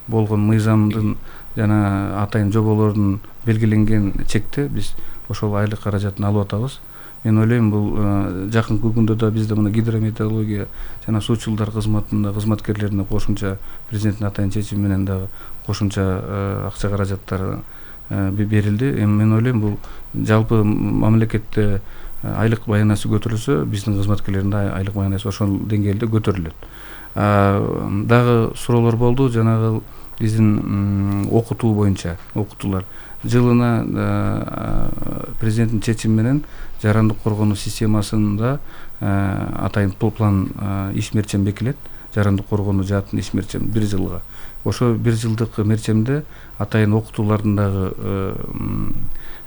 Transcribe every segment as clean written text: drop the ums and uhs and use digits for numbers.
болгон мыйзамдын жана атайын жоболордун белгиленген чекте биз ошол айлык каражатын алып атабыз. Мен ойлойм бул жакынкы күндө да бизде мына гидрометеорология жана суучулдар кызматында кызматкерлерине кошумча президенттин атайын чечими менен дагы кошумча акча каражаттары берилди. Эми мен ойлойм бул жалпы мамлекетте айлык баянасы көтөрүлсө, биздин кызматкерлердин да айлык баянасы ошол деңгээлде көтөрүлөт. Дагы суроолор болду, жанагы биздин окутуу боюнча окутуулар жылына президенттин чечими менен жарандык коргонуу системасында атайын план иш мерчем бекилет. Жарандык коргонуу жаатын иш мерчем 1 жылга. Ошо 1 жылдык мерчемде атайын окутуулардын дагы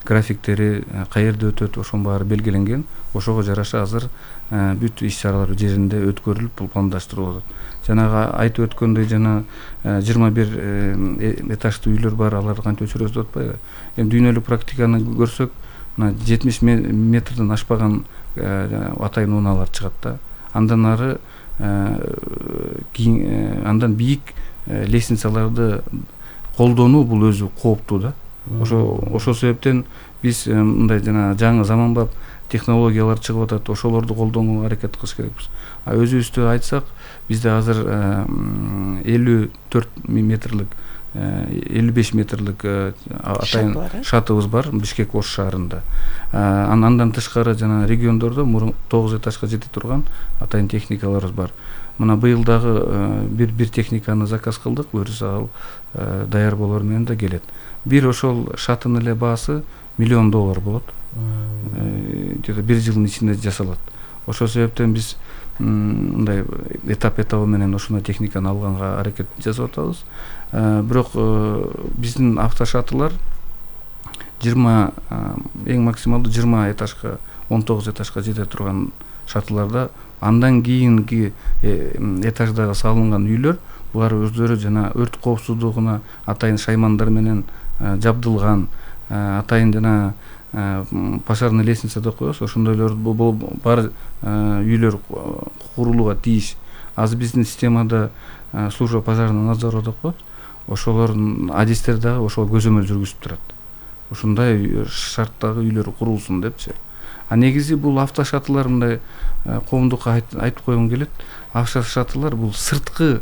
графиктери каерде өтөт, ошонун баары белгиленген. Ошого жараша азыр бүт иш чаралар жеринде өткөрүлүп пландаштырылып атат. Жанагы айтып өткөндөй жана 21 этаждуу үйлөр бар, аларды кантип өчүрөбүз деп атпайбы? Эми дүйнөлүк практиканы көрсөк, мына 70 метрден ашпаган атайын унаалар чыгат да. Андан ары андан бийик лестницаларды колдонуу бул өзү кооптуу да. Ошол себептен биз мындай жана жаңы заманбап технологиялар чыгып атат, ошолорду колдонууга аракет кылыш керекпиз. Өзүбүздү айтсак, бизде азыр 54 метрлик 55 метрлик атайын шатыбыз бар Бишкек Ош шаарында. Андан тышкары жана региондордо 9 этажга жете турган атайын техникаларыбыз бар. Мына быйыл дагы бир техниканы заказ кылдык, буюрса ал даяр болор менен да келет. Бир ошол шатынын эле баасы $1 миллион болот. Где-то 1 жылдын ичинде жасалат. Ошол себептен биз мындай этап менен ушундай техниканы алганга аракет жасап атабыз. Бирок биздин автошатылар 20 эң максималдуу 20 этажга 19 этажга жете турган шатыларда, андан кийинки этаждагы салынган үйлөр булар өздөрү жана өрт коопсуздугуна атайын шаймандар менен жабдылган, атайын жана пожарный лестница деп коебуз, ошондойлор бар үйлөр курулууга тийиш. Азыр биздин системада служба пожарного надзора деп коет. Ошолордун адистери дагы ошого көзөмөл жүргүзүп турат. Ушундай шарттагы үйлөр курулсун депчи. Негизи бул автошатылар мындай коомдукка айтып койгум келет. Автошатылар бул сырткы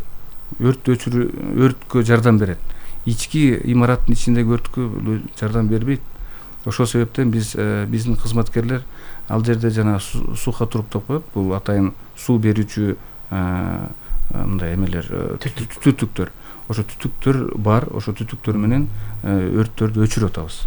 өрткө жардам берет. Ички имараттын ичиндеги өрткө жардам бербейт. Ошол себептен биздин кызматкерлер ал жерде жана сухотруп деп коет. Бул атайын суу берүүчү мындай эмелер, түтүктөр. Ошо түтүктөр бар, ошо түтүктөр менен өрттөрдү өчүрүп атабыз.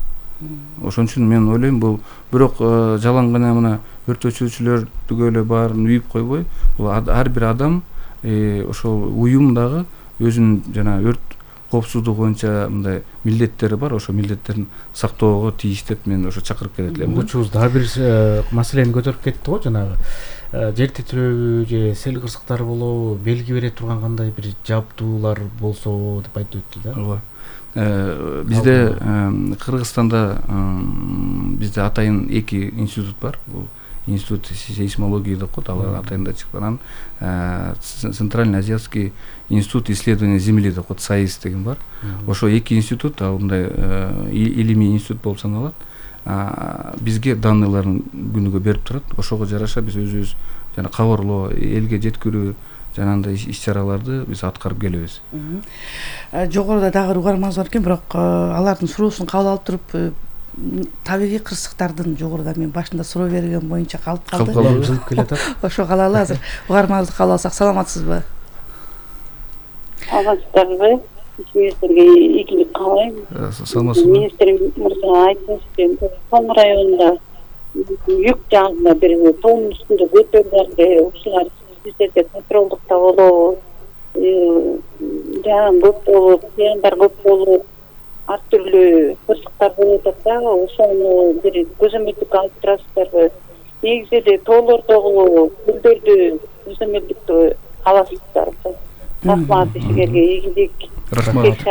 Ошон үчүн мен ойлойм бул бирок жалаң гана мына өрт өчүрүүчүлөрдү эле баарын үйүп койбой, бул ар бир адам ошол уюм дагы өзүнүн жана өрт коопсуздугу боюнча мындай милдеттери бар, ошо милдеттерин сактоого тийиш деп мен ошо чакырып келет элем. Учубуз дагы бир маселени көтөрүп кетти го, жанагы жер титирөөгү же сел кырсыктары болобу, белги бере турган кандай бир жабдуулар болсо деп айтып өттү да. Ооба. Бизде Кыргызстанда бизде атайын 2 институт бар. Бул институт сейсмологии деп коет, алар атайында чыккан. Центральный азиатский институт исследования земли деп коет, САИС деген бар. Ошо 2 институт, ал мындай илимий институт болуп саналат. Бизге данныйларын күнүгө берип турат. Ошого жараша биз өзүбүз жана кабарлоо, элге жеткирүү жанагындай иш-чараларды биз аткарып келебиз. Жогоруда дагы угарманыбыз бар экен, бирок алардын суроосун кабыл алып туруп, табигый кырсыктардын жогоруда мен башында суроо берген боюнча калып калды. Жылып келатат. Ошо калалы азыр угарманыбызды кабыл алсак. Саламатсызбы? Саламатсыздарбы? Министрге ийгилик каалайм. Саламатсызбы? Министр мырза айтыңызчы, Томур районунда юк жагында бир тоонун үстүндө көтөрүлгөндө ушулар сиздерде контролдукта болобу? Жан көп болуп, зыяндар көп болуп, ар түрлүү кырсыктар болуп атат да, ошону бир көзөмөлдүккө алып турасыздарбы? Негизи эле тоолордогу гүлдөрдү көзөмөлдүктө аласыздарбы? Рахмат, сиздерге ийгилик. Рахмат.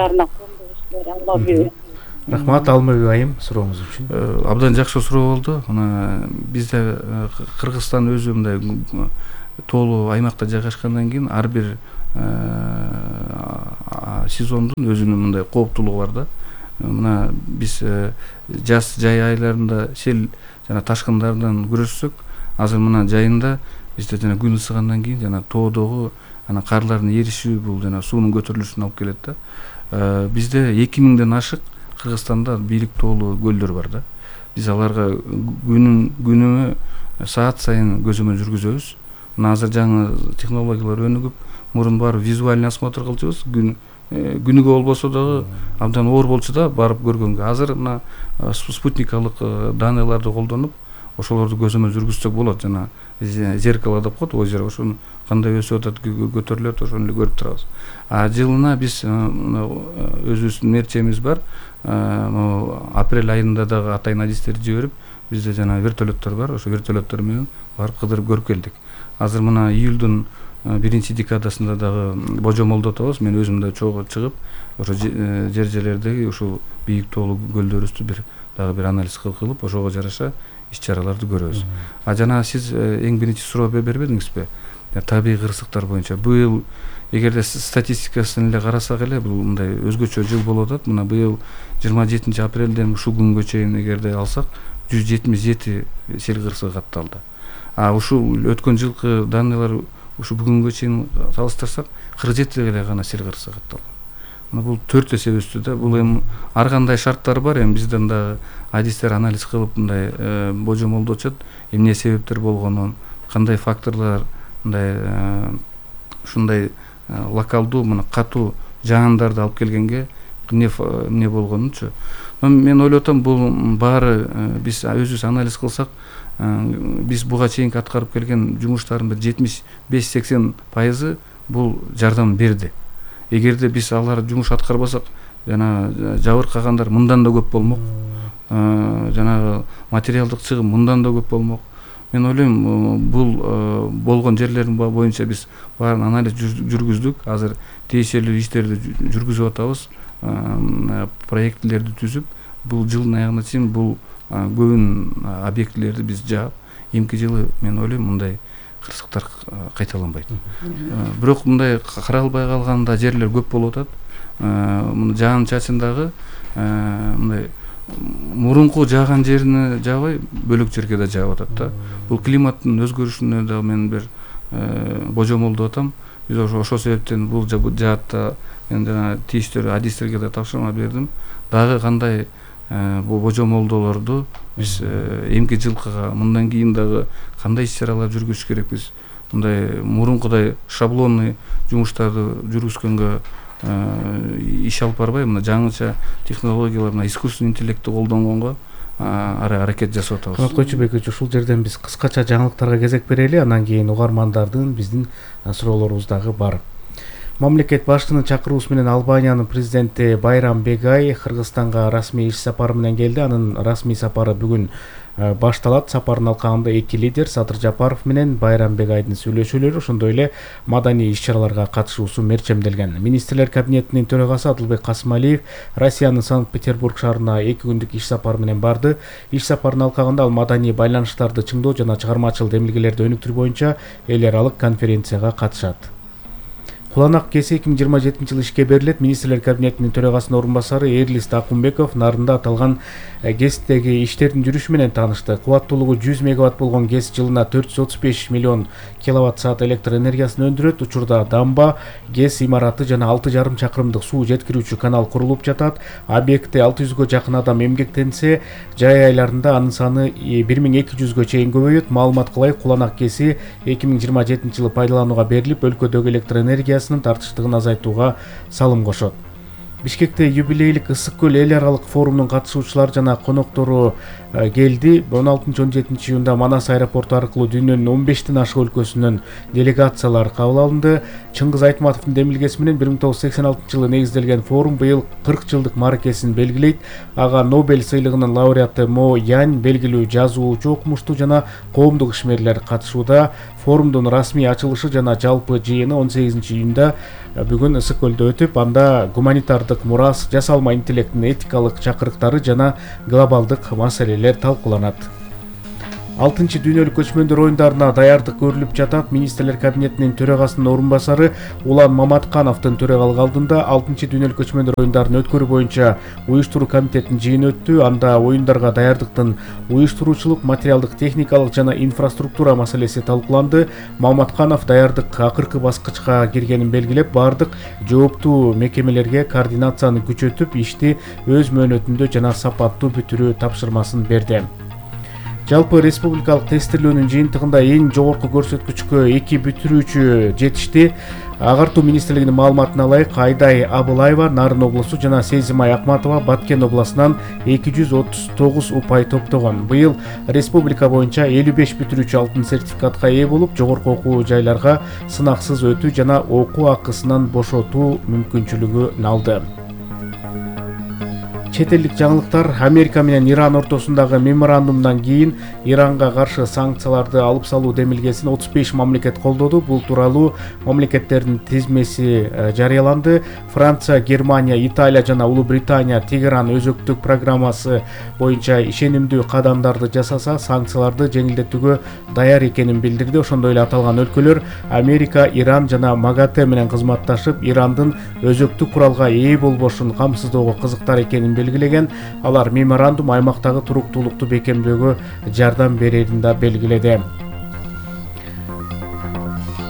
Рахмат Алмабек айым сурооңуз үчүн. Абдан жакшы суроо болду. Мына бизде Кыргызстан өзү мындай тоолуу аймакта жайгашкандан кийин ар бир сезондун өзүнүн мындай кооптулугу бар да. Мына биз жаз жай айларында сел жана ташкындардан күрөшсөк, азыр мына жайында бизде жана күн ысыгандан кийин жана тоодогу карлардын эришүү бул жана суунун көтөрүлүшүнө алып келет да. Бизде 2000ден ашык Кыргызстанда бийлик тоолуу көлдөр бар да. Биз аларга күнүмө саат сайын көзөмөл жүргүзөбүз. Мына азыр жаңы технологиялар өнүгүп, мурун барып визуальный осмотр кылчубуз. Күнүгө болбосо дагы абдан оор болчу да барып көргөнгө. Азыр мына спутникалык данныйларды колдонуп, ошолорду көзөмөл жүргүзсөк болот. Жана зеркало деп коет, озеро, ошону кандай өсүп атат, көтөрүлөт, ошону эле көрүп турабыз. Жылына биз өзүбүздүн мерчемибиз бар. Апрель айында дагы атайын адистерди жиберип, бизде жана вертолеттор бар. Ошо вертолеттор менен барып кыдырып көрүп келдик. Азыр мына июлдун 1-декадасында дагы божомолдо атабыз. Мен өзүм да чогуу чыгып, ошо жерлердеги ушул бийик тоолуу көлдөрүбүздү дагы бир анализ кылып, ошого жараша иш-чараларды көрөбүз. Жана сиз эң биринчи суроо бербедиңизби? Табигый кырсыктар боюнча быйыл эгерде статистикасын эле карасак эле, бул мындай өзгөчө жыл болуп атат. Мына быйыл 27 апрелден ушул күнгө чейин эгерде алсак 177 сел кырсыгы катталды. Ушул өткөн жылкы данныйлар ушу бүгүнгө чейин салыштырсак 47 эле гана сел кырсыгы катталган. Бул 4 эсе өстү да. Бул эми ар кандай шарттар бар. Эми бизден дагы адистер анализ кылып мындай божомолдочот, эмне себептер болгонун, кандай факторлор мындай ушундай локалдуу мына катуу жаандарды алып келгенге эмне болгонунчу. Мен ойлоп атам, бул баары биз өзүбүз анализ кылсак, биз буга чейинки аткарып келген жумуштардын бир 75-80% бул жардам берди. Эгерде биз алар жумуш аткарбасак, жана жабыркагандар мындан да көп болмок. Жана материалдык чыгым мындан да көп болмок. Мен ойлойм, бул болгон жерлердин боюнча биз баарын анализ жүргүздүк. Азыр тиешелүү иштерди жүргүзүп атабыз. Проектилерди түзүп, бул жылдын аягына чейин бул көбүн объектилерди биз жаап, эмки жылы мен ойлойм мындай кырсыктар кайталанбайт. Бирок мындай каралбай калганда жерлер көп болуп атат. Мына жаан чачындагы мындай мурунку жааган жерине жаабай, бөлөк жерге да жаап атат да. Бул климаттын өзгөрүшүнө да мен бир божомолдоп атам. Биз ошол себептен бул жаатта мен жана тийиштүү адистерге да тапшырма бердим. Дагы кандай бул божомолдоолорду биз эмки жылкыга мындан кийин дагы кандай иш-чаралар жүргүзүш керекпиз. Мындай мурункудай шаблонный жумуштарды жүргүзгөнгө иш алып барбай, мына жаңыча технологиялар, мына искусственный интеллектти колдонгонго аракет жасап атабыз. Канат Койчубекович, ушул жерден биз кыскача жаңылыктарга кезек берели, андан кийин угармандардын биздин суроолорубуз дагы бар. Мамлекет башчынын чакыруусу менен Албаниянын президенти Байрам Бегай Кыргызстанга расмий иш сапары менен келди. Анын расмий сапары бүгүн башталат. Сапардын алкагында эки лидер Садыр Жапаров менен Байрам Бегайдын сүйлөшүүлөрү, ошондой эле маданий иш-чараларга катышуусу мерчемделген. Министрлер кабинетинин төрагасы Адылбек Касымалиев Россиянын Санкт-Петербург шаарына 2 күндүк иш сапары менен барды. Иш сапарынын алкагында ал маданий байланыштарды чыңдоо жана чыгармачыл демилгелерди өнүктүрүү боюнча эл аралык конференцияга катышат. Куланак КЕСИ 2027 жылы ишке берилет. Министрлер кабинетинин төрагасынын орун басары Эрлис Акунбеков нарында аталган ГЭСтеги иштердин жүрүшү менен таанышты. Кубаттуулугу 100 мегаватт болгон ГЭС жылына 435 миллион киловатт саат электр энергиясын өндүрөт. Учурда дамба, ГЭС имараты жана 6,5 чакырымдык суу жеткирүүчү канал курулуп жатат. Объектте 600гө жакын адам эмгектенсе, жай айларында анын саны 1200гө чейин көбөйөт. Маалымат кылайык, Куланак КЕСИ 2027 жылы пайдаланууга берилип, өлкөдөгү электр энергиясынын тартыштыгын азайтууга салым кошот. Бишкекте юбилейлик Ысык көл эл аралык форумунун катышуучулары жана коноктору келди. 16-17 июнда Манас аэропорту аркылуу дүйнөнүн 15тен ашык өлкөсүнөн делегациялар кабыл алынды. Чыңгыз Айтматовдун демилгеси менен 1986 жылы негизделген форум быйыл 40 жылдык мааракесин белгилейт. Ага Нобель сыйлыгынын лауреаты Мо Янь, белгилүү жазуучу, окумуштуу жана коомдук ишмерлер катышууда. Форумдун расмий ачылышы жана жалпы жыйыны 18 июнда бүгүн Ысык көлдө өтүп, анда гуманитардык мурас, жасалма интеллекттин этикалык чакырыктары жана глобалдык маселелер талкууланат. 6 дүйнөлүк көчмөндөр оюндарына даярдык көрүлүп жатат. Министрлер кабинетинин төрагасынын орун басары Улан Маматкановдун төрагалык алдында 6 дүйнөлүк көчмөндөр оюндарын өткөрүү боюнча уюштуруу комитетинин жыйыны өттү. Анда оюндарга даярдыктын уюштуруучулук, материалдык, техникалык жана инфраструктура маселеси талкууланды. Маматканов даярдык акыркы баскычка киргенин белгилеп, бардык жооптуу мекемелерге координацияны күчөтүп, ишти өз мөөнөтүндө жана сапаттуу бүтүрүү тапшырмасын берди. Жалпы республикалык тестирлөөнүн жыйынтыгында эң жогорку көрсөткүчкө 2 бүтүрүүчү жетишти. Агартуу министрлигинин маалыматына ылайык, Айдай Абылаева Нарын облусу жана Сезимай Акматова Баткен облусунан 239 упай топтогон. Быйыл республика боюнча 55 бүтүрүүчү алтын сертификатка ээ болуп, жогорку окуу жайларга сынаксыз өтүү жана окуу акысынан бошотуу мүмкүнчүлүгүн алды. Чет элдик жаңылыктар. Америка менен Иран ортосундагы меморандумдан кийин Иранга каршы санкцияларды алып салуу демилгесин 35 мамлекет колдоду. Бул тууралуу мамлекеттердин тизмеси жарыяланды. Франция, Германия, Италия жана Улуу Британия Тегеран өзөктүк программасы боюнча ишенимдүү кадамдарды жасаса, санкцияларды жеңилдетүүгө даяр экенин билдирди. Ошондой эле аталган өлкөлөр Америка, Иран жана МАГАТЭ менен кызматташып, Ирандын өзөктүк куралга ээ болбошун камсыздоого кызыктар экенин белгилеген. Алар меморандум аймактагы туруктуулукту бекемдөөгө жардам берерин да белгиледи.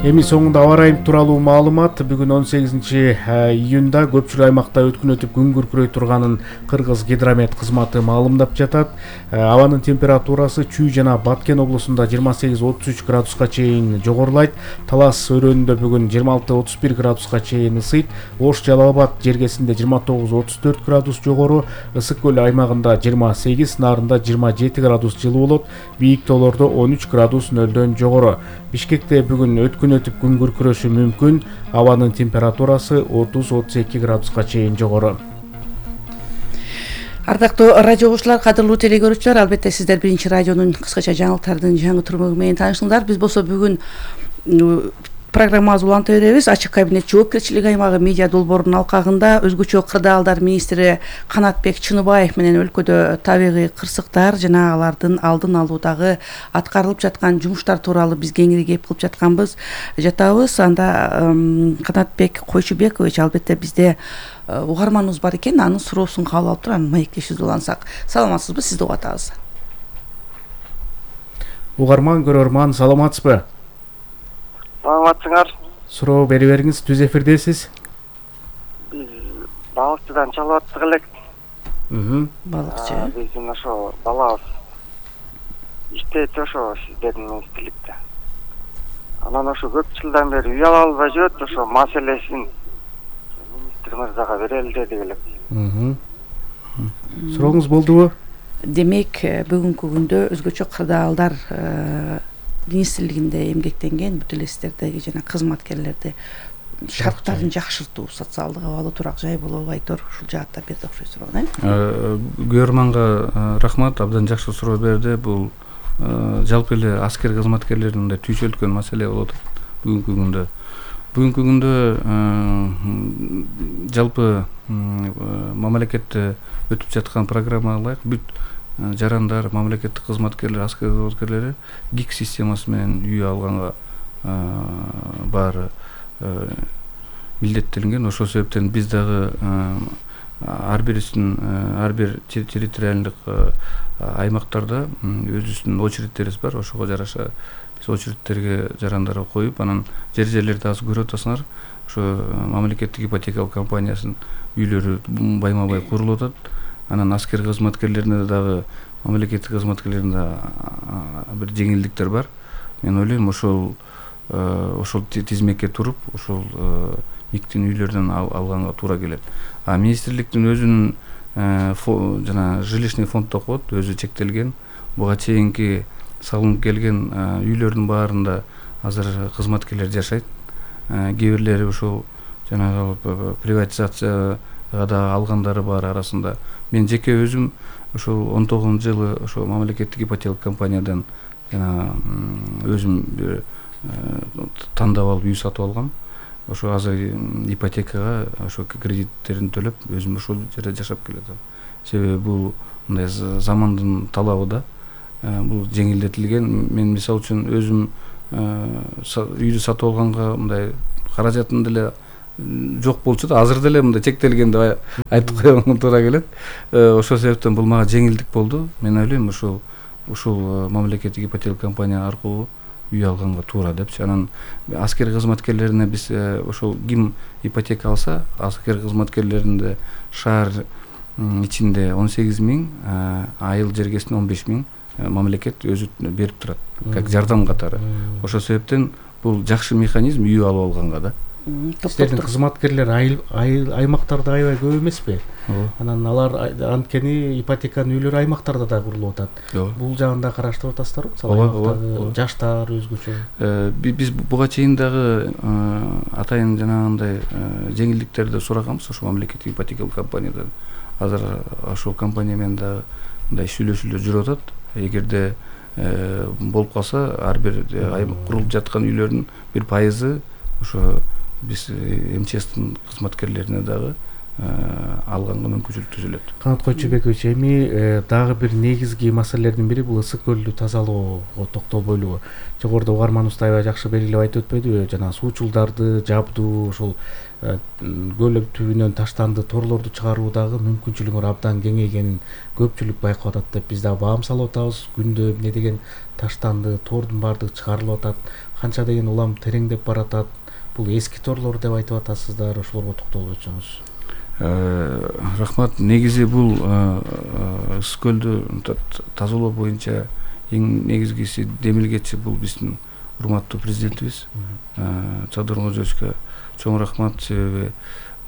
Эми соңунда аба ырайы тууралуу маалымат. Бүгүн 18 июнда көпчүлүк аймакта өткүн өтүп күн күркүрөй турганын Кыргыз гидромет кызматы маалымдап жатат. Абанын температурасы Чүй жана Баткен облусунда 28-33 градуска чейин жогорулайт. Талас өрөөнүндө бүгүн 26-31 градуска чейин ысыйт. Ош Жалал Абад жергесинде 29-34 градус жогору, Ысык көл аймагында 28, Нарында 27 градус жылуу болот. Бийик тоолордо 13 градус нөлдөн жогору. Бишкекте бүгүн өткүн өтүп күн күркүрөшү мүмкүн. Абанын температурасы 30-32 градуска чейин жогору. Ардактуу радио угуучулар, кадырлуу телекөрүүчүлөр, албетте сиздер Биринчи радионун кыскача жаңылыктардын жаңы турмөгү менен таанышыңдар. Биз болсо бүгүн программабызды уланта беребиз. Ачык кабинет жоопкерчилик аймагы медиа долбоорунун алкагында өзгөчө кырдаалдар министри Канатбек Чыныбаев менен өлкөдө табигый кырсыктар жана алардын алдын алуудагы аткарылып жаткан жумуштар тууралуу биз кеңири кеп кылып жатабыз. Анда Канатбек Койчубекович, албетте бизде угарманыбыз бар экен, анын суроосун кабыл алып туруп анан маектешибизди улансак. Саламатсызбы? Сизди угуп атабыз. Угарман, көрөрман, саламатсызбы? Саламатсыңар. Суроо бере бериңиз, түз эфирдесиз. Биз балыкчыдан чалып аттык элек. Балыкчы. Биздин ошо балабыз иштейт ошо сиздердин министрликте. Анан ошо көп жылдан бери үй ала албай жүрөт, ошо маселесин министр мырзага берели дедик элек. Сурооңуз болдубу? Демек, бүгүнкү күндө өзгөчө кырдаалдар министрлигинде эмгектенген бүт эле сиздердеги жана кызматкерлерди шарттарын жакшыртуу, социалдык абалы турак жай болобу, айтор ушул жаатта берди окшойт суроо. Көрөрманга рахмат, абдан жакшы суроо берди. Бул жалпы эле аскер кызматкерлеринин да түйшөлткөн маселе болуп атат бүгүнкү күндө. Жалпы мамлекетте өтүп жаткан программага ылайык бүт жарандар, мамлекеттик кызматкерлер, аскер кызматкерлери ГИК системасы менен үй алганга баары милдеттелинген. Ошол себептен биз дагы ар бир территориалдык аймактарда өзүбүздүн очередтерибиз бар. Ошого жараша биз очередтерге жарандарга коюп, анан жерлерди азыр көрүп атасыңар. Ошо мамлекеттик ипотекалык компаниясынын үйлөрү байма-бай курулуп атат. Анан аскер кызматкерлерине дагы, мамлекеттик кызматкерлерине бир жеңилдиктер бар. Мен ойлойм, ошол тизмекке туруп, ошол миктин үйлөрдөн алганга туура келет. Министрликтин өзүнүн жана жилищный фонддо коет, өзү чектелген. Буга чейинки салынып келген үйлөрдүн баарында азыр кызматкерлер жашайт. Кээ бирлери ошол жанагы приватизацияга да алгандары бар арасында. Мен жеке өзүм ошол 19-жылы ошо мамлекеттик ипотекалык компаниядан жана өзүм тандап алып үй сатып алгам. Ошо азыр ипотекага ошо кредиттерин төлөп, өзүм ошол жерде жашап келатам. Себеби бул мындай замандын талабы да. бул жеңилдетилген. Мен мисалы үчүн өзүм үйдү сатып алганга мындай каражатым деле жок болчу да, азыр деле мындай чектелген деп айтып коюңа туура келет. Ошол себептен бул мага жеңилдик болду. Мен ойлойм ушул мамлекеттик ипотека компания аркылуу үй алганга туура депчи. Анан аскер кызматкерлерине биз ошол ким ипотека алса, аскер кызматкерлеринде шаар ичинде 18 000, айыл жергесинде 15 000 мамлекет өзү берип турат, как жардам катары. Ошол себептен бул жакшы механизм үй алып алганга да. Силердин кызматкерлер аймактарда аябай көп эмеспи? Анан алар анткени ипотеканын үйлөрү аймактарда да курулуп атат. Бул жагын да караштырып атасыздарбы? Мисалы жаштар өзгөчө. Биз буга чейин дагы атайын жанагындай жеңилдиктерди сураганбыз ошо мамлекеттик ипотекалык компаниядан. Азыр ошол компания менен дагы мындай сүйлөшүүлөр жүрүп атат. Эгерде болуп калса, ар бир курулуп жаткан үйлөрдүн 1% ошо биз МЧСтин кызматкерлерине дагы алганга мүмкүнчүлүк түзүлөт. Канат Койчубекович, эми дагы бир негизги маселелердин бири бул ысык көлдү тазалоого токтолбойлубу? Жогоруда угарманыбыз аябай жакшы белгилеп айтып өтпөдүбү? Жана суучулдарды жабдуу, ошол көл түбүнөн таштанды торлорду чыгаруудагы мүмкүнчүлүгү абдан кеңейгенин көпчүлүк байкап атат деп биз дагы баам салып атабыз. Күндө эмне деген таштанды тордун баардыгы чыгарылып атат, канча деген улам тереңдеп баратат. Бул эски торлор деп айтып атасыздар, ошолорго токтолуп өтсөңүз. Рахмат. Негизи бул ысык көлдү тазалоо боюнча эң негизгиси демилгечи бул биздин урматтуу президентибиз Садыр Нурзиевичке чоң рахмат. Себеби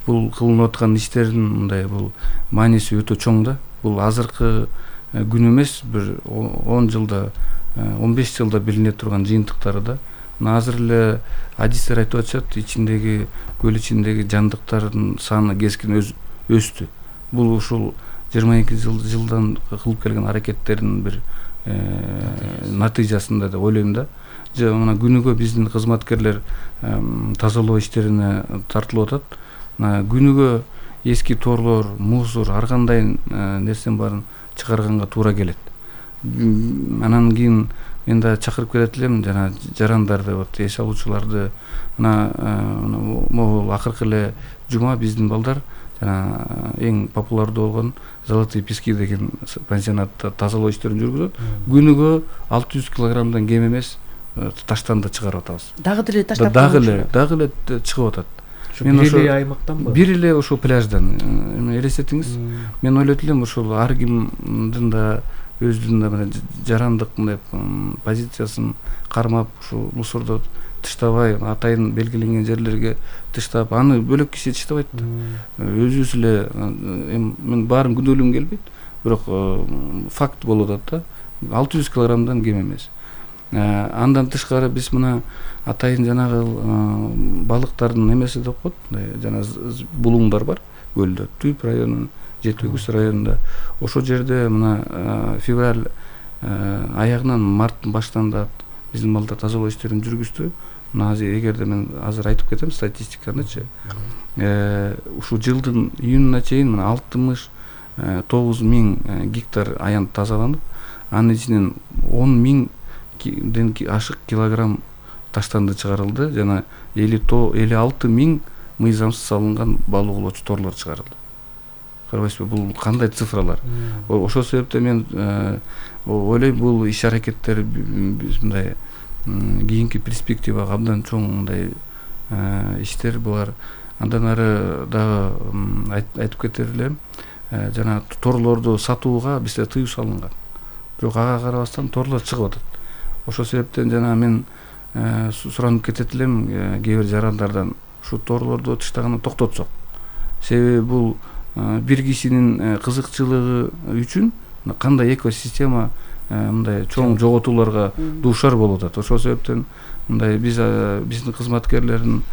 бул кылынып аткан иштердин мындай бул мааниси өтө чоң да. Бул азыркы күн эмес, бир 10 жылда, 15 жылда билине турган жыйынтыктары да. Азыр эле адистер айтып атышат, көл ичиндеги жандыктардын саны кескин өстү. Бул ушул 22 жылдан кылып келген аракеттердин бир натыйжасында деп ойлойм да. Мына күнүгө биздин кызматкерлер тазалоо иштерине тартылып атат. Күнүгө эски торлор, мусор, ар кандай нерсенин баарын чыгарганга туура келет. Анан кийин мен да чакырып келет элем жана жарандарды, эс алуучуларды. Могул акыркы эле жума биздин балдар жана эң популярдуу болгон Золотые пески деген пансионатта тазалоо иштерин жүргүзөт. Күнүгө 600 килограммдан кем эмес таштанды чыгарып атабыз. Дагы деле таштап дагы эле чыгып атат. Мен ошо аймактанбы? Бир эле ошол пляждан. Элестетиңиз, мен ойлойт элем ошол ар кимдин да өзүнүн жарандык мындай позициясын кармап, ушул мусорду таштабай, атайын белгиленген жерлерге таштап, аны бөлөк киши таштабайт да. Өзүбүз эле, мен баарын күнөөлөгүм келбейт, бирок факт болуп атат да. 600 килограммдан кем эмес. Андан тышкары биз мына атайын жанагы балыктардын эмеси деп коет, жана булуңдар бар көлдө. Түп районунун, Жети Үгүз районунда. Ошол жерде мына февраль аягынан марттын башынан да биздин балдар тазалоо иштерин жүргүздү. Мына эгерде мен азыр айтып кетем статистиканычы. Ушул жылдын июнуна чейин мына 69 000 гектар аян тазаланып, анын ичинен 10 000ден ашык килограмм таштанды чыгарылды, жана 56 000 мыйзамсыз салынган балык оолоочу торлор чыгарылды. Карабайсызбы, бул кандай цифралар? Ошол себептен мен ойлойм, бул иш аракеттер биз мындай кийинки перспективага абдан чоң мындай иштер булар. Андан ары дагы айтып кетер элем, жана торлорду сатууга бизде тыюу салынган. Бирок ага карабастан торлор чыгып атат. Ошол себептен жана мен суранып кетет элем кээ бир жарандардан, ушу торлорду таштаганды токтотсок. Себеби бул бир кишинин кызыкчылыгы үчүн кандай экосистема мындай чоң жоготууларга дуушар болуп атат. Ошол себептен мындай биздин кызматкерлердин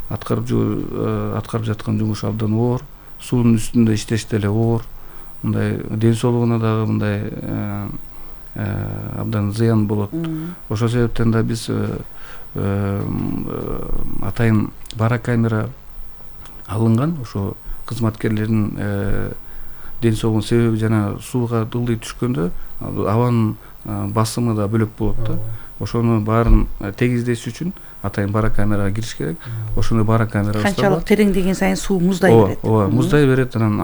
аткарып жаткан жумушу абдан оор, суунун үстүндө иштеш деле оор, мындай ден соолугуна дагы мындай абдан зыян болот. Ошол себептен да биз атайын барокамера алынган, ошо кызматкерлердин ден соолугун себеби жана сууга ылдый түшкөндө абанын басымы да бөлөк болот да. Ошону баарын тегиздеш үчүн атайын барокамерага кириш керек. Ошондой барокамера канчалык тереңдеген сайын суу муздай берет. Ооба, муздай берет, анан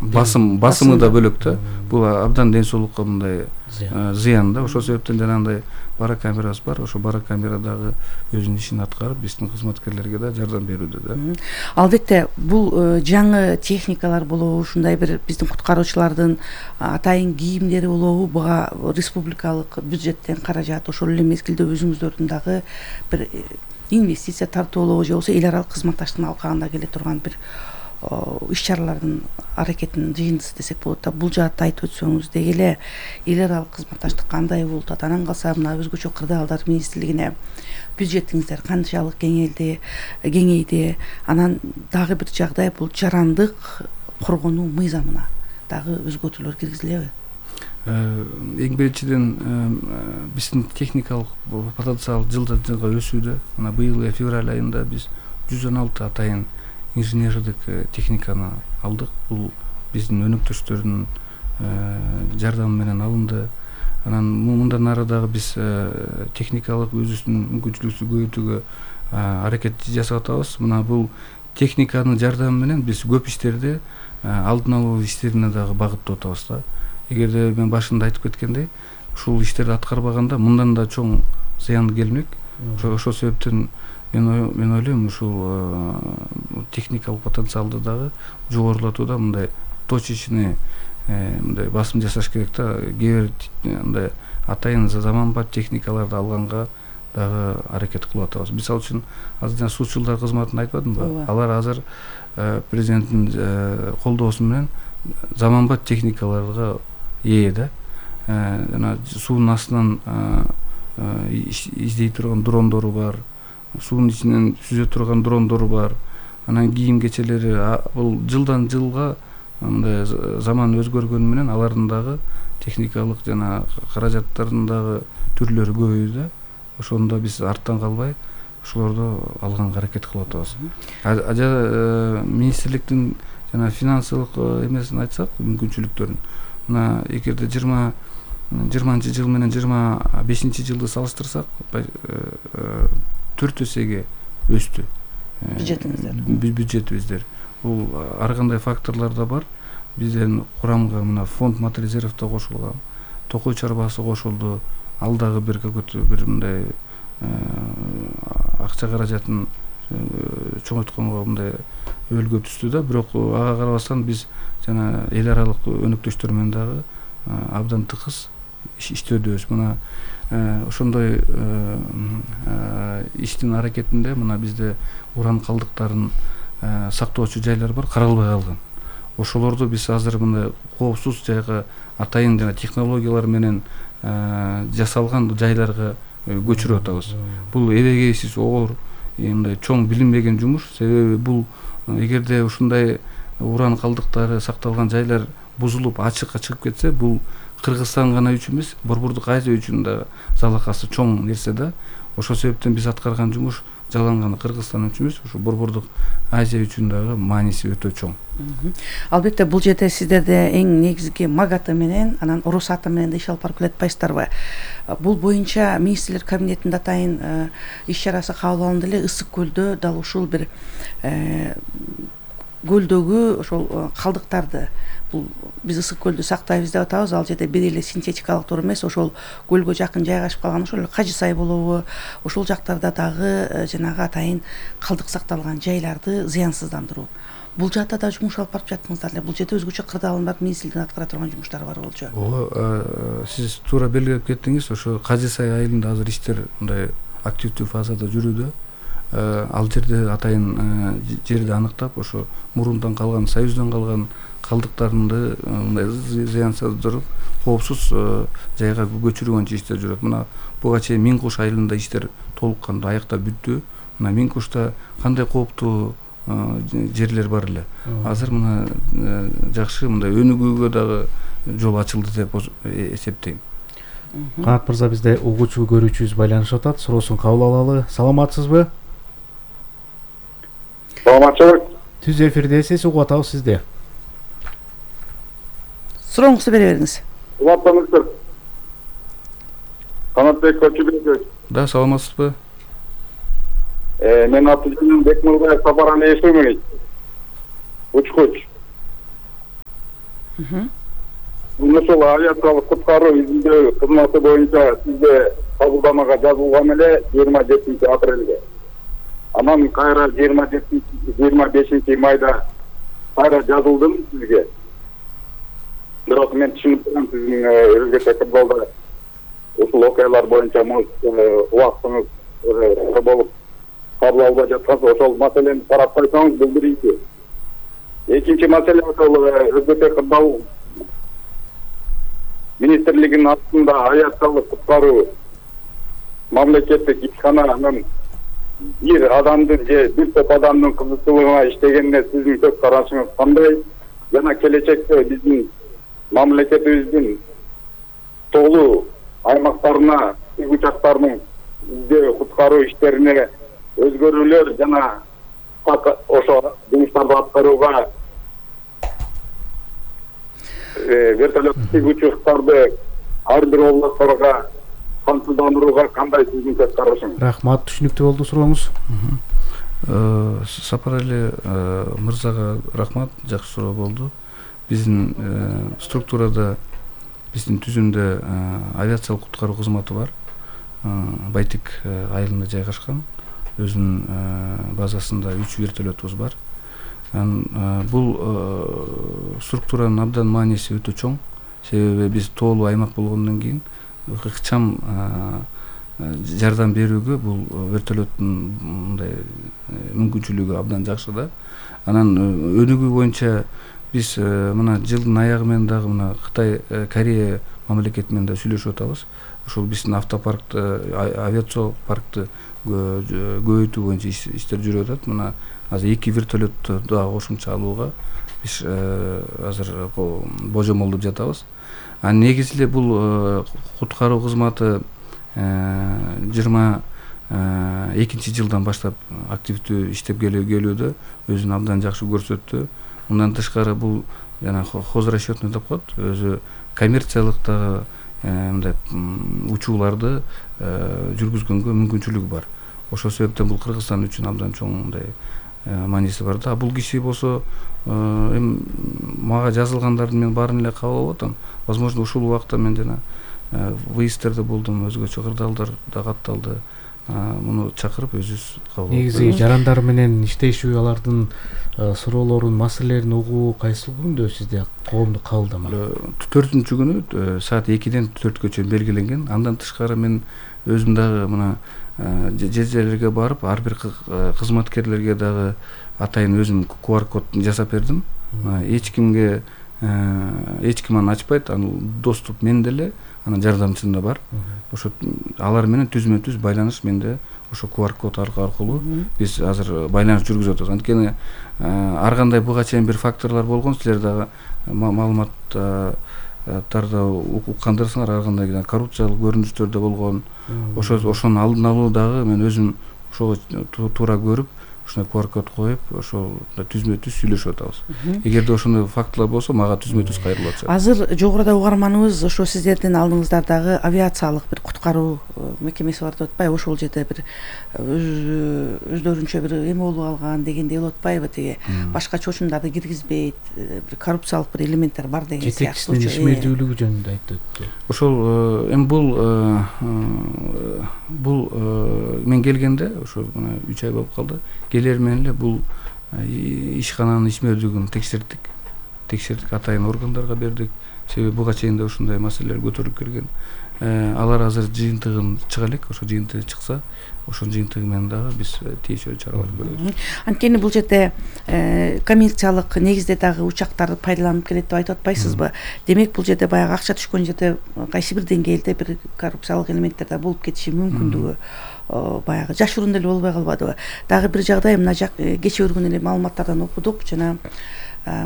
басымы да бөлөк да. Бул абдан ден соолукка мындай зыян да. Ошол себептен жанагындай барокамерабыз бар. Ошо барокамера дагы өзүнүн ишин аткарып, биздин кызматкерлерге да жардам берүүдө да. Албетте, бул жаңы техникалар болобу, ушундай бир биздин куткаруучулардын атайын кийимдери болобу, буга республикалык бюджеттен каражат, ошол эле мезгилде өзүңүздөрдүн дагы бир инвестиция тартуулоо же болбосо эл аралык кызматташтыктын алкагында келе турган бир иш-чаралардын аракетинин жыйындысы десек болот да. Бул жаатта айтып өтсөңүз, деги эле эл аралык кызматташтык кандай болуп атат? Анан калса мына өзгөчө кырдаалдар министрлигине бюджетиңиздер канчалык кеңейди? Анан дагы бир жагдай, бул жарандык коргонуу мыйзамына дагы өзгөртүүлөр киргизилеби? Эң биринчиден биздин техникалык потенциал жылдан жылга өсүүдө. Мына быйыл февраль айында биз 116 атайын инженердик техниканы алдык. Бул биздин өнөктөштөрдүн жардамы менен алынды. Анан мындан ары дагы биз техникалык өзүбүздүн мүмкүнчүлүгүбүздү көбөйтүүгө аракет жасап атабыз. Мына бул техниканын жардамы менен биз көп иштерди алдын алуу иштерине дагы багыттап атабыз да. Эгерде мен башында айтып кеткендей, ушул иштерди аткарбаганда мындан да чоң зыян келмек. Ошол себептен мен ойлойм, ушул техникалык потенциалды дагы жогорулатууда мындай точечный мындай басым жасаш керек да. Кээ бир мындай атайын заманбап техникаларды алганга дагы аракет кылып атабыз. Мисалы үчүн азыр жана суучулдар кызматын айтпадымбы? Алар азыр президенттин колдоосу менен заманбап техникаларга ээ да. Жана суунун астынан издей турган дрондору бар, суунун ичинен сүзө турган дрондору бар. Анан кийим кечелери, бул жылдан жылга мындай заман өзгөргөнү менен алардын дагы техникалык жана каражаттардын дагы түрлөрү көбөйдү. Ошондо биз арттан калбай ошолорду алганга аракет кылып атабыз. Министрликтин жана финансылык эмесин айтсак, мүмкүнчүлүктөрүн. Мына эгерде 20-жыл менен 25-жылды салыштырсак, 4 эсеге өстү бюджетибиздер. Бул ар кандай факторлор да бар. Биздин курамга мына фонд мат резерв да кошулган, токой чарбасы кошулду. Ал дагы бир мындай акча каражатын чоңойтконго мындай өлгө түстү да. Бирок ага карабастан биз жана эл аралык өнөктөштөр менен дагы абдан тыкыз иштөөдөбүз. Мына ошондой иштин аракетинде мына бизде уран калдыктарын сактоочу жайлар бар, каралбай калган. Ошолорду биз азыр мындай коопсуз жайга, атайын жана технологиялар менен жасалган жайларга көчүрүп атабыз. Бул эбегейсиз оор, мындай чоң билинбеген жумуш. Себеби бул эгерде ушундай уран калдыктары сакталган жайлар бузулуп ачыкка чыгып кетсе, бул Кыргызстан гана үчүн эмес, Борбордук Азия үчүн да залакасы чоң нерсе да. Ошол себептен биз аткарган жумуш жалаң гана Кыргызстан үчүн эмес, ушу Борбордук Азия үчүн дагы мааниси өтө чоң. Албетте, бул жерде сиздерде эң негизги МАГАТы менен, анан Росатом менен да иш алып барып келатпайсыздарбы? Бул боюнча министрлер кабинетинде атайын иш-чарасы кабыл алынды эле. Ысык көлдө дал ушул бир көлдөгү ошол калдыктарды, бул биз ысык көлдү сактайбыз деп атабыз. Ал жерде бир эле синтетикалык тор эмес, ошол көлгө жакын жайгашып калган ошол Кажы сай болобу, ошол жактарда дагы жанагы атайын калдык сакталган жайларды зыянсыздандыруу. Бул жаатта да жумуш алып барып жаттыңыздар эле. Бул жерде өзгөчө кырдаалдар министрликтин аткара турган жумуштары бар болчу. Ооба, сиз туура белгилеп кеттиңиз. Ошо Кажы сай айылында азыр иштер мындай активдүү фазада жүрүүдө. Ал жерде атайын жерди аныктап, ошо мурундан калган, союздан калган калдыктарды мындай зыянсыздырып, коопсуз жайга көчүрүү боюнча иштер жүрөт. Мына буга чейин Миңкуш айылында иштер толук кандуу аяктап бүттү. Мына Миңкушта кандай кооптуу жерлер бар эле. Азыр мына жакшы мындай өнүгүүгө дагы жол ачылды деп эсептейм. Канат мырза, бизде угуучу көрүүчүбүз байланышып атат. Суроосун кабыл алалы. Саламатсызбы? Саламатчылык. Түз эфирдесиз, угуп атабыз сизди. сурооңузду бере бериңиз. Улаптаңыздар. Канатбек Көчүбекович. Да, саламатсызбы? Мен аты-жөнүм Бекмурбаев Сапар Алиевич. Учкуч. Ушул авиациялык куткаруу изилдөө кызматы боюнча сизде кабылдамага жазылган эле 27-апрелде. Анан кайра 25 майда кайра жазылдым сизге. Бирок мен түшүнүп турам сиздин өлкөдө кырдаалда ушул окуялар боюнча убактыңыз болуп кабыл албай жатканса ошол маселени карап койсоңуз бул биринчи. Экинчи маселе ошол өлкөдө кырдаал министрлигинин астында авиациялык куткаруу мамлекеттик ишкананын бир адамдын же бир топ адамдын кызыкчылыгына иштегенине сиздин көз карашыңыз кандай? Жана келечекте биздин мамлекетибиздин тоолуу аймактарына учактардын издөө куткаруу иштерине өзгөрүүлөр жана ошо жумуштарды аткарууга вертолет учактарды ар бир областтарга камсыздандырууга кандай сиздин көз карашыңыз? Рахмат, түшүнүктүү болду сурооңуз. Сапарали мырзага рахмат, жакшы суроо болду. Биздин структурада, биздин түзүмдө авиациялык куткаруу кызматы бар. Байтик айылында жайгашкан. Өзүнүн базасында 3 вертолетубуз бар. Бул структуранын абдан мааниси өтө чоң. Себеби биз тоолуу аймак болгондон кийин ыкчам жардам берүүгө бул вертолеттун мындай мүмкүнчүлүгү абдан жакшы да. Анан өнүгүү боюнча биз мына жылдын аягы менен дагы мына Кытай, Корея мамлекети менен да сүйлөшүп атабыз. Ошол биздин автопаркты, авиациялык паркты көбөйтүү боюнча иштер жүрүп атат. Мына азыр 2 вертолетту дагы кошумча алууга биз азыр божомолдоп жатабыз. Негизи эле бул куткаруу кызматы 22 жылдан баштап активдүү иштеп келүүдө өзүн абдан жакшы көрсөттү. Мындан тышкары бул жана хозрасчетный деп коет, өзү коммерциялык дагы мындай учууларды жүргүзгөнгө мүмкүнчүлүгү бар. Ошол себептен бул Кыргызстан үчүн абдан чоң мындай мааниси бар да. Бул киши болсо мага жазылгандардын мен баарын эле кабыл алып атам. Возможно, ушул убакта мен жана выездтерде болдум, өзгөчө кырдаалдар да катталды. Муну чакырып өзүбүз кабыл алып. Негизи жарандар менен иштешүү, алардын суроолорун, маселелерин угуу кайсыл күндө сизде коомдук кабылдама? 4-күнү саат 2-ден 4-кө чейин белгиленген. Андан тышкары мен өзүм дагы мына жерлерге барып, ар бир кызматкерлерге дагы атайын өзүм QR код жасап бердим. Эч ким аны ачпайт, анын доступ менде эле, анан жардамчымда бар. Ошо алар менен түзмө-түз байланыш менде ошо QR код аркылуу биз азыр байланыш жүргүзүп атабыз. Анткени ар кандай буга чейин бир факторлор болгон, силер дагы маалыматтарда уккандарсыңар, ар кандай коррупциялык көрүнүштөр да болгон. Ошонун алдын алуу дагы мен өзүм ошого туура көрүп, ушундай QR код коюп, ошол түзмө-түз сүйлөшүп атабыз. Эгерде ошондой фактылар болсо, мага түзмө-түз кайрылып атышат. Азыр жогоруда угарманыбыз ошо сиздердин алдыңыздардагы авиациялык бир куткаруу мекемеси бар деп атпайбы? Ошол жерде бир өздөрүнчө бир эме болуп алган дегендей болуп атпайбы? Тиги башка чочундарды киргизбейт, бир коррупциялык бир элементтер бар деген сыяктуу. Жетекчисинин ишмердүүлүгү жөнүндө айтып өттү. Ошол эми бул мен келгенде ошо 3 ай болуп калды. Келер менен эле бул ишкананын ишмердүүлүгүн текшердик, атайын органдарга бердик. Себеби буга чейин да ушундай маселелер көтөрүлүп келген. Алар азыр жыйынтыгын чыга элек, ошо жыйынтыгы чыкса, ошонун жыйынтыгы менен дагы биз тийиштүү чаралар көрөбүз. Анткени бул жерде коммерциялык негизде дагы учактарды пайдаланып келет деп айтып атпайсызбы? Демек бул жерде баягы акча түшкөн жерде кайсы бир деңгээлде бир коррупциялык элементтер да болуп кетиши мүмкүндүгү баягы жашыруун деле болбой калбадыбы? Дагы бир жагдай мына кечээ өргөн эле маалыматтардан окудук, жана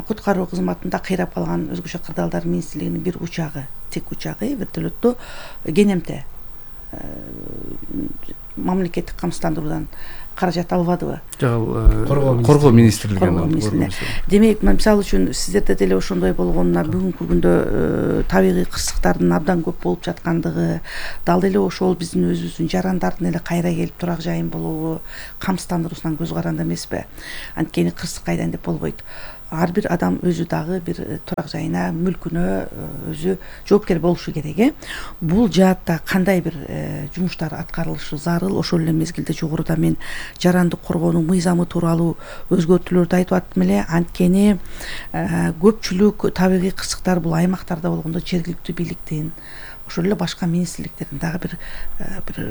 куткаруу кызматында кыйрап калган өзгөчө кырдаалдар министрлигинин бир учагы, тик учагы вертолетту Кенемте мамлекеттик камсыздандыруудан каражат албадыбы? Жок, коргоо министрлиги. Демек, мисалы үчүн сиздерде деле ошондой болгонуна бүгүнкү күндө табигый кырсыктардын абдан көп болуп жаткандыгы, дал эле ошол биздин өзүбүздүн жарандардын эле кайра келип турак жайын болобу, камсыздандыруусунан көз каранды эмеспи? Анткени кырсык кайдан деп болбойт. Ар бир адам өзү дагы бир турак жайына, мүлкүнө өзү жоопкер болушу керек. Бул жаатта кандай бир жумуштар аткарылышы зарыл? Ошол эле мезгилде жогоруда мен жарандык коргоонун мыйзамы тууралуу өзгөртүүлөрдү айтып аттым эле. Анткени көпчүлүк табигый кырсыктар бул аймактарда болгондо жергиликтүү бийликтин, ошол эле башка министрликтердин дагы бир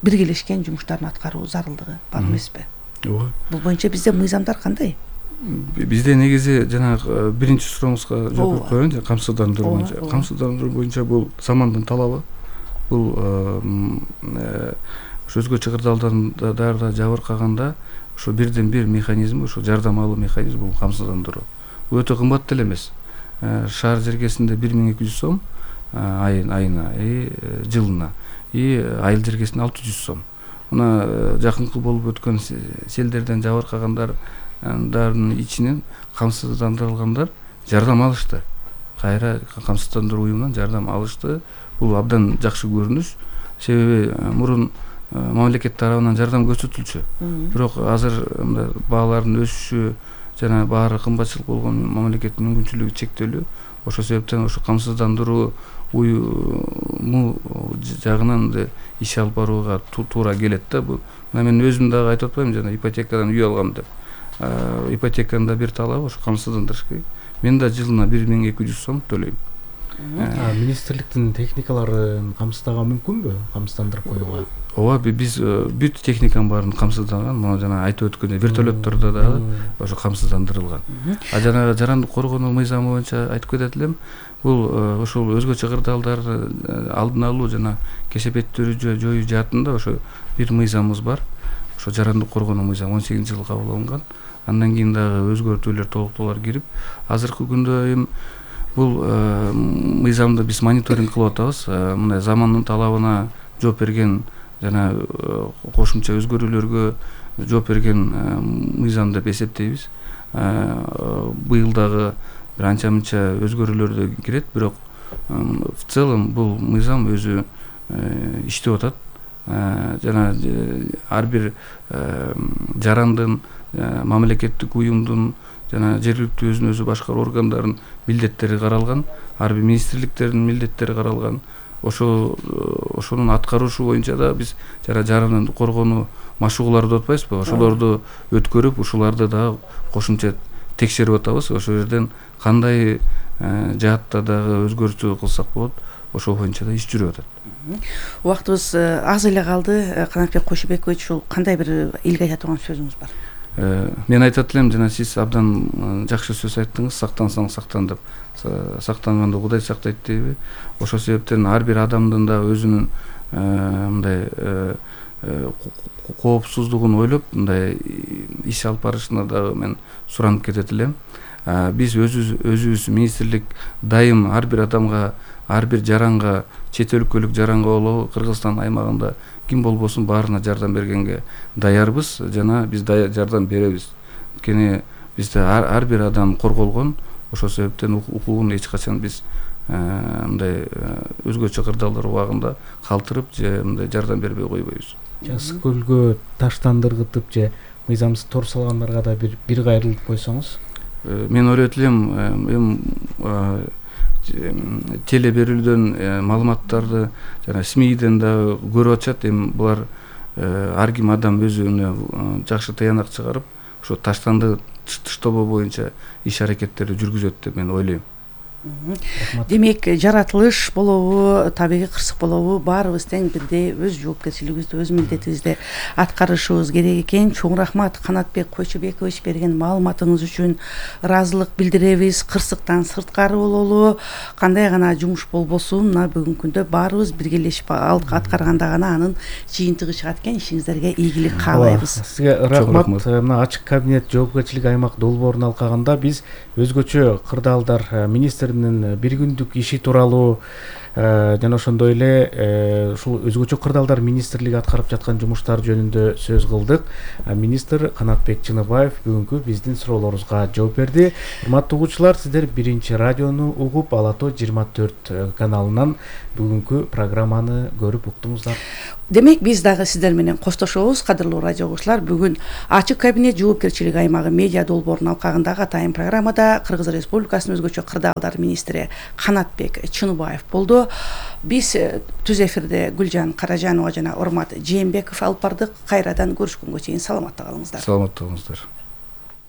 биргелешкен жумуштарын аткаруу зарылдыгы бар эмеспи? Ооба. Бул боюнча бизде мыйзамдар кандай? Бизде негизи жанагы биринчи сурооңузга жооп берип коеюн. Камсыздандыруу боюнча. Камсыздандыруу боюнча бул замандын талабы. Бул ошо өзгө чыгырдалдарда жабыркаганда ошо бирден бир механизм, ошо жардам алуу механизми бул камсыздандыруу. Бул өтө кымбат деле эмес. Шаар жергесинде 1200 сом айына, жылына, айыл жергесинде 600 сом. Мына жакынкы болуп өткөн селдерден жабыркагандардын ичинен камсыздандырылгандар жардам алышты. Кайра камсыздандыруу уюмунан жардам алышты. Бул абдан жакшы көрүнүш. Себеби мурун мамлекет тарабынан жардам көрсөтүлчү. Бирок азыр баалардын өсүшү жана баары кымбатчылык болгон мамлекеттин мүмкүнчүлүгү чектелүү. Ошол себептен ошо камсыздандыруу уюму жагынан иш алып барууга туура келет да. Мына мен өзүм дагы айтып атпаймынбы, жана ипотекадан үй алгам деп. Ипотеканын да бир талабы ошо камсыздандырыш керек. Мен да жылына 1200 сом төлөйм. Министрликтин техникаларын камсыздаган мүмкүнбү? Камсыздандырып коюуга? Ооба, биз бүт техниканын баарын камсызданган. Мына жана айтып өткөндөй вертолеттордо дагы ошо камсыздандырылган. Жанагы жарандык коргонуу мыйзамы боюнча айтып кетет элем. Бул ошол өзгө чыгырдалдар алдын алуу жана кесепеттүүрү жоюу жаатында ошо бир мыйзамыбыз бар. Ошо жарандык коргонуу мыйзамы 18-жылы кабыл алынган. Андан кийин дагы өзгөртүүлөр, толуктоолор кирип, азыркы күндө эми бул мыйзамды биз мониторинг кылып атабыз. Мындай замандын талабына жооп берген жана кошумча өзгөрүүлөргө жооп берген мыйзам деп эсептейбиз. Быйыл дагы бир анча-мынча өзгөрүүлөр кирет, бирок в целом бул мыйзам өзү иштеп атат. Жана ар бир жарандын, мамлекеттик уюмдун жана жергиликтүү өзүн өзү башкаруу органдарынын милдеттери каралган, ар бир министрликтердин милдеттери каралган. Ошонун аткарушу боюнча да биз жарандык коргонуу машыгууларды атпайбызбы? Ошолорду өткөрүп, ушуларды дагы кошумча текшерип атабыз. Ошол жерден кандай жаатта дагы өзгөртүү кылсак болот, ошол боюнча да иш жүрүп атат. Убактыбыз аз эле калды. Канатбек Кошубекович, ушул кандай бир элге айта турган сөзүңүз бар? Мен айтат элем, жана сиз абдан жакшы сөз айттыңыз, сактансаң сактан деп. Сактанганды Кудай сактайт дейби. Ошол себептен ар бир адамдын да өзүнүн мындай коопсуздугун ойлоп, мындай иш алып барышына дагы мен суранып кетет элем. Биз өзүбүз министрлик дайым ар бир адамга, ар бир жаранга, чет өлкөлүк жаранга болобу, Кыргызстан аймагында ким болбосун баарына жардам бергенге даярбыз, жана биз жардам беребиз. Анткени бизде ар бир адам корголгон. Ошол себептен укугун эч качан биз мындай өзгө чыгырдалдар убагында калтырып же мындай жардам бербей койбойбуз. Ысык көлгө таштандыргытып же мыйзамсыз тор салгандарга да бир кайрылып койсоңуз? Мен ойлойт элем, теле берүүдөн маалыматтарды жана СМИден да көрүп атышат. Эми булар ар ким адам өзүнө жакшы таянак чыгарып, ошо таштанды тыштобоо боюнча иш аракеттерди жүргүзөт деп мен ойлойм. Демек, жаратылыш болобу, табигый кырсык болобу, баарыбыз тең бирдей өз жоопкерчилигибизди, өз милдетибизди аткарышыбыз керек экен. Чоң рахмат Канатбек Кошубекович берген маалыматыңыз үчүн ыраазылык билдиребиз. Кырсыктан сырткары бололу, кандай гана жумуш болбосун, мына бүгүнкү күндө баарыбыз биргелешип аткарганда гана анын жыйынтыгы чыгат экен. Ишиңиздерге ийгилик каалайбыз. Сизге рахмат. Мына ачык кабинет жоопкерчилик аймак долбоорун алкаганда биз өзгөчө кырдаалдар министринин бир күндүк иши тууралуу жана ошондой эле ушул өзгөчө кырдаалдар министрлиги аткарып жаткан жумуштар жөнүндө сөз кылдык. Министр Канатбек Чыныбаев бүгүнкү биздин суроолорубузга жооп берди. Урматтуу угуучулар, сиздер Биринчи радиону угуп, Ала Тоо 24 каналынан бүгүнкү программаны көрүп уктуңуздар. Демек биз дагы сиздер менен коштошобуз, кадырлуу радио угуучулар. Бүгүн ачык кабинет жоопкерчилик аймагы медиа долбоорунун алкагындагы атайын программада Кыргыз Республикасынын өзгөчө кырдаалдар министри Канатбек Чыныбаев болду. Биз түз эфирде Гүлжан Каражанова жана Урмат Жээнбеков алып бардык. Кайрадан көрүшкөнгө чейин саламатта калыңыздар. Саламатта болуңуздар.